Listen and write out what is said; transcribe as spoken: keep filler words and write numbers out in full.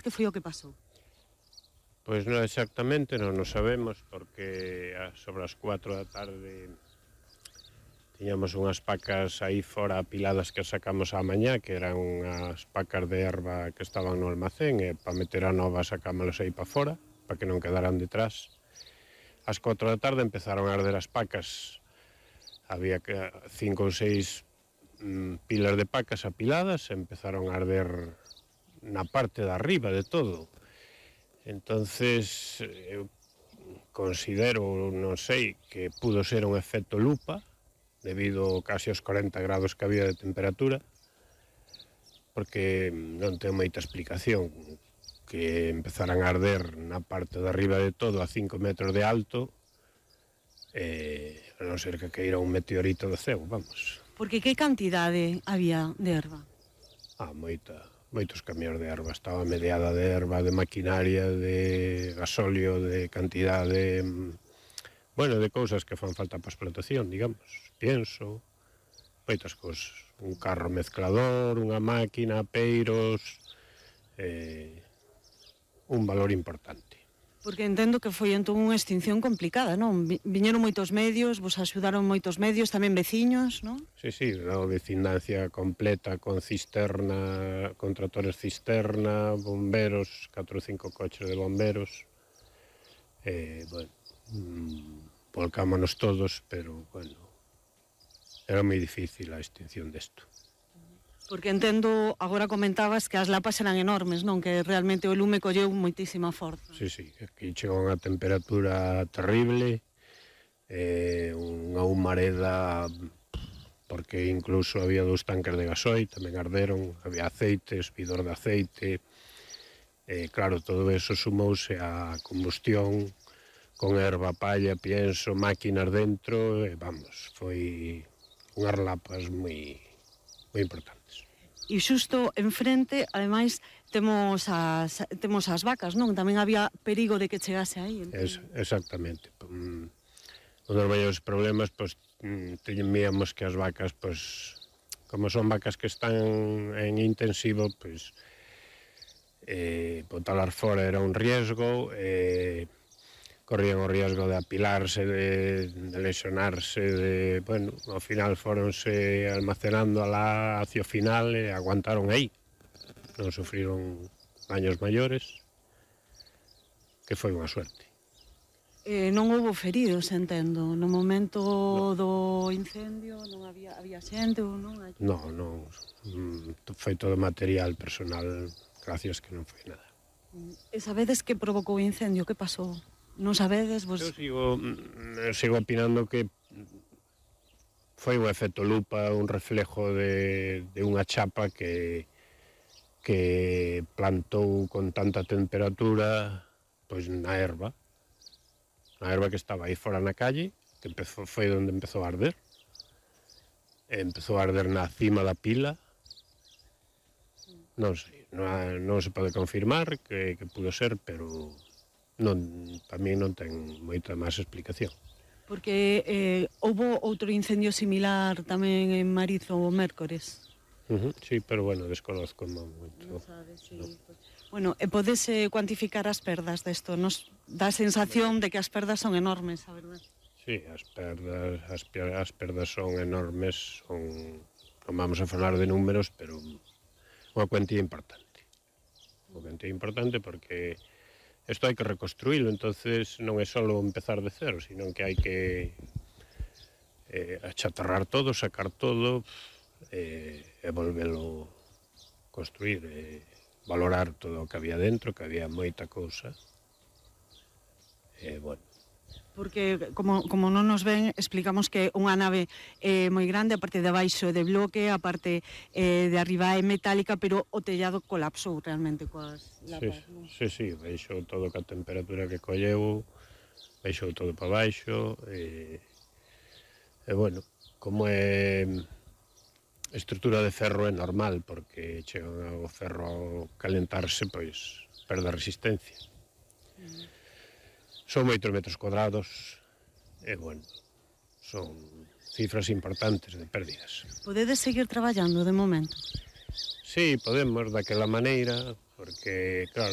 Que foi o que pasou? Pois non exactamente, non o sabemos, porque sobre as cuatro da tarde tiñamos unhas pacas aí fora apiladas que sacamos á mañá, que eran unhas pacas de erva que estaban no almacén, e para meter a nova sacámolas aí para fora, para que non quedaran detrás. Ás cuatro da tarde empezaron a arder as pacas, había cinco ou seis mm, pilas de pacas apiladas, e empezaron a arder na parte de arriba de todo. Entonces, eu considero, non sei, que pudo ser un efecto lupa, debido case aos corenta grados que había de temperatura, porque non ten moita explicación que empezaran a arder na parte de arriba de todo a cinco metros de alto, eh, a non ser que caíra un meteorito do ceo, vamos. Porque que cantidade había de erva? Ah, moita, moitos camións de erva, estaba mediada de erva, de maquinaria, de gasóleo, de cantidade, bueno, de cousas que fan falta para a explotación, digamos, pienso, moitas cousas, un carro mezclador, unha máquina, peiros, eh, un valor importante. Porque entendo que foi entón unha extinción complicada, non? Viñeron moitos medios, vos axudaron moitos medios, tamén veciños, non? Sí, sí, a vecindancia completa con cisterna, con tractores cisterna, bomberos, catro ou cinco coches de bomberos, eh, bueno, mmm, volcámonos todos, pero, bueno, era moi difícil a extinción desto. Porque entendo, agora comentabas que as lapas eran enormes, non? Que realmente o lume colleu moitísima forza. Sí, sí, aquí chegou unha temperatura terrible, eh, unha humareda, porque incluso había dous tanques de gasoil, tamén arderon, había aceites, vidor de aceite, eh, claro, todo eso sumouse á combustión, con erva, palla, pienso, máquinas dentro, e vamos, foi unhas lapas moi, moi importantes. E xusto enfrente, ademais, temos as, temos as vacas, non? Tamén había perigo de que chegase aí. Es, exactamente. Un dos maiores problemas, pois, temíamos que as vacas, pois, como son vacas que están en intensivo, pois, eh, botalas fora era un riesgo, eh, corrían o riesgo de apilarse, de, de lesionarse, de, bueno, ao final foronse almacenando alá hacia o final e aguantaron aí. Non sufriron daños maiores, que foi unha suerte. Eh, non houve feridos, entendo. No momento no. do incendio non había, había xente ou non? Aquí? Non, non. Foi todo material personal, gracias que non foi nada. E sabedes que provocou o incendio? Que pasou? Non sabedes? Vos... Eu sigo, sigo opinando que foi un efecto lupa, un reflejo de, de unha chapa que, que plantou con tanta temperatura pois na erva. Na erva que estaba aí fora na calle, que empezou, foi onde empezou a arder. E empezou a arder na cima da pila. Non sei, non, non se pode confirmar que, que pudo ser, pero... non, para mí non ten moita máis explicación. Porque eh, houve outro incendio similar tamén en Marizo o mércores. Uh -huh, sí, pero bueno, desconozco moito. Non sabes, sí. No. Bueno, e podes eh, cuantificar as perdas desto? Nos dá a sensación de que as perdas son enormes, a verdade? Sí, as perdas, as, as perdas son enormes, son, non vamos a falar de números, pero unha cuantía importante. Unha cuantía importante porque isto hai que reconstruílo, entonces non é só empezar de cero, sino que hai que eh, achatarrar todo, sacar todo eh, e volvelo construir, eh, valorar todo o que había dentro, que había moita cousa. E, eh, bueno, porque como, como non nos ven, explicamos que unha nave eh, moi grande, a parte de abaixo é de bloque, a parte eh, de arriba é metálica, pero o tellado colapsou realmente coas lapas, sí, non? Sí, sí, baixou todo ca temperatura que colleu, baixou todo para baixo, e, e bueno, como é estrutura de ferro é normal, porque chega o ferro a calentarse, pois perde a resistencia. Mm. Son moitos metros cuadrados e, bueno, son cifras importantes de pérdidas. Podedes seguir traballando de momento? Sí, podemos, daquela maneira, porque, claro,